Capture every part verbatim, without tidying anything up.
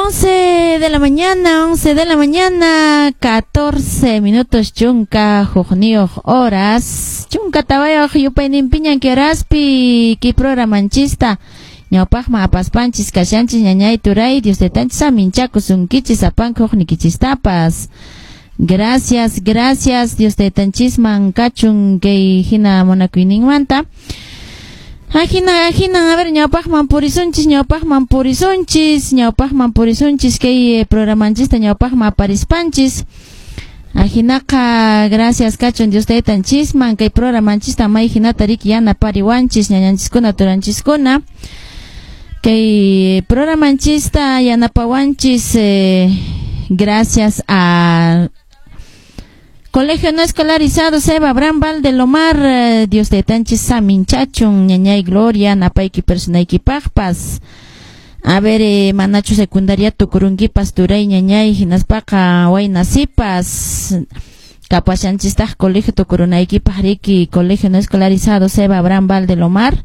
once de la mañana, once de la mañana, catorce minutos chunka hukniyuq horas. Chunka tawayuq yupayninpiñan kay horaspi kay programanchista ñawpaqman apaspanchis kashanchis. Ñañay, turay, Dios taytanchis saminchakusunkichis sapanka hukniykichistapas. Gracias, gracias Dios taytanchisman kachun kay hina munakuyninmanta. Ajina, ajina, a ver, ñawpaqman purisunchis, ñawpaqman purisunchis, ñawpaqman purisunchis, kay eh, programanchista ñawpaqman aparispanchis. Ajinaqa, gracias kachun Dios taytanchisman, kay programanchista may hinata riki yanapariwanchis, ñañanchiskuna, turanchiskuna. Kay programanchista yanapawanchis, eh, gracias a Colegio No Escolarizado Seba Abraham Valdelomar, eh, Dios taytanchis saminchachun, ñañay Gloria, napayki personaykipaqpas. A ver, eh, manachu secundaria tukurunkipas, turay, ñañay, hinaspaqa wayna sipas. Kapashanchistaq colegio tukurunaykipaq riki Colegio No Escolarizado Seba Abraham Valdelomar.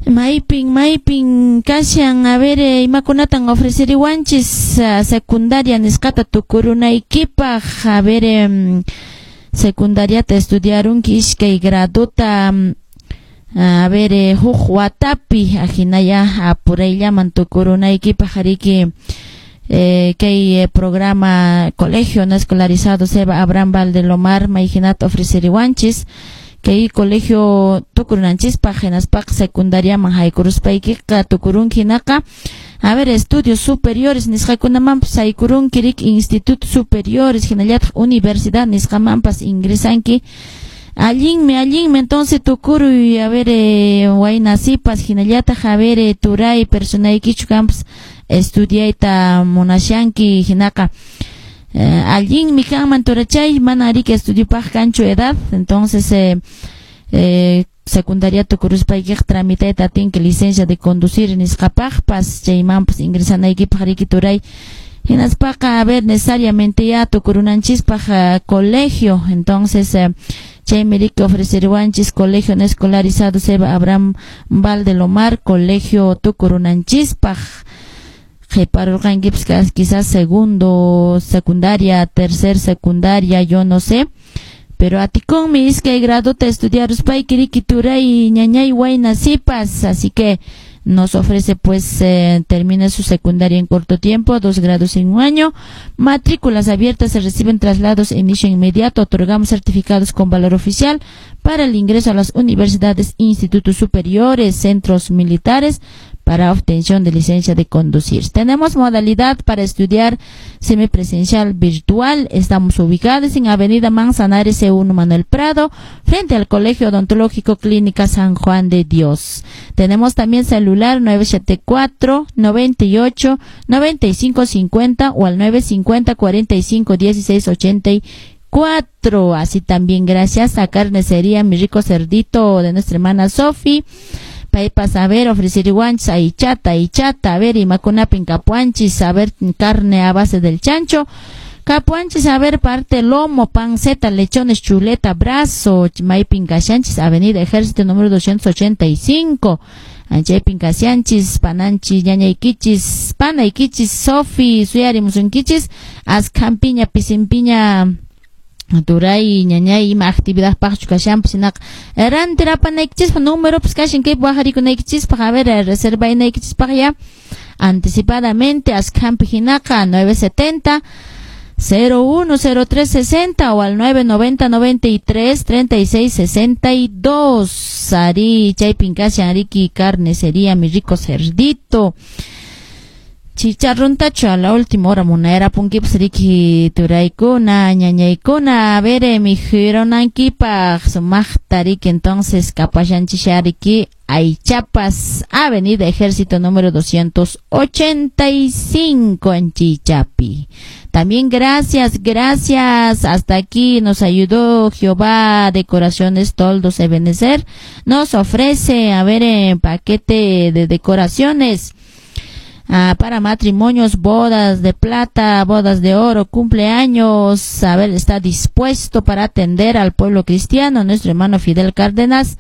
Maypin, maypin kashan, a ver, eh, imakunatan ofreceriwanchis uh, secundaria nisqata tukurunaykipaq, a ver, eh, secundariata estudiarunki iskay graduta, a ver, eh, huk watapi, ahinaya apurayllaman tukurunaykipaq riki eh, kay eh, programa Colegio No Escolarizado Seba Abraham Valdelomar may hinata ofreceriwanchis kay colegio tukurunanchispaq hinaspaq secundariaman haykuruspaykiqa tukurunki hinaqa, a ver, estudios superiores nisqakunamanpas haykurunki riki, institutos superiores hinallataq universidad nisqamanpas ingresanki. Allinmi, allinmi, entonces tukuruy, a ver, eh, wayna sipas, hinallataq, a ver, eh, turay, personaykichu kanpas estudiayta munashanki hinaqa eh, allinmi kanman, turachay, mana riki estudiopaq kanchu edad. Entonces eh, eh, secundaria tukuruspaykiqa tramitayta atinki licencia de conducir nisqapaqpas, chaymanpas ingresanaykipaq riki, turay. Hinaspaqa, a ver, necesariamente ya tukurunanchispaq uh, colegio, entonces eh, chaymi riki ofreceriwanchis Colegio No Escolarizado Seba Abraham Valdelomar, colegio tukurunanchispaq. Qhiparurqankipas quizás segundo secundaria, tercer secundaria, yo no sé, pero atikunmi iskay graduta estudiaruspayki riki, turay, ñañay, wayna sipas. Así que nos ofrece pues eh, termina su secundaria en corto tiempo, dos grados en un año. Matrículas abiertas, se reciben traslados, inicio inmediato, otorgamos certificados con valor oficial para el ingreso a las universidades, institutos superiores, centros militares, para obtención de licencia de conducir. Tenemos modalidad para estudiar semipresencial, virtual. Estamos ubicados en Avenida Manzanares C uno Manuel Prado, frente al Colegio Odontológico Clínica San Juan de Dios. Tenemos también celular nueve siete cuatro noventa y ocho noventa y cinco cincuenta o al nueve cincuenta cuarenta y cinco dieciséis ochenta y cuatro. Así también gracias a Carnicería Mi Rico Cerdito de nuestra hermana Sofi. Paypas, a ver, ofreceriwanchis aychata, aychata, a ver, imakunapin kapuwanchis, a ver, carne a base del chancho. Kapuwanchis, a ver, parte lomo, panceta, lechones, chuleta, brazo. Maypin kashanchis, Avenida Ejército número doscientos ochenta y cinco. Chaypin kashanchis, pananchis, ñañaykichis, panaykichis, Sofi, suyarimusunkichis, askhampiña, pisinpiña, turay, ñañay, ima actividad paqchu kashanpas hinaqa rantirapanaykichispa numeropas kashan kaypi waqarikunaykichispaq, a ver, reservaynaykichispaq ya anticipadamente askhampi hinaqa nueve setenta cero uno cero tres sesenta o al nueve noventa noventa y tres treinta y seis sesenta y dos. Arí, chaypin kashan riki Carnicería Mi Rico Cerdito. Chicharrontachu a la última hora munayarapunkipas riki, turaykuna, ñañaykuna, a ver, mikhurunaykipaq sumaqta riki. Entonces kapashanchis riki aychapas, Avenida Ejército número doscientos ochenta y cinco en Chichapi. También gracias, gracias. Hasta aquí nos ayudó Jehová. Decoraciones Toldos Ebenezer nos ofrece, a ver, en paquete de decoraciones ah, para matrimonios, bodas de plata, bodas de oro, cumpleaños. A ver, está dispuesto para atender al pueblo cristiano, nuestro hermano Fidel Cárdenas.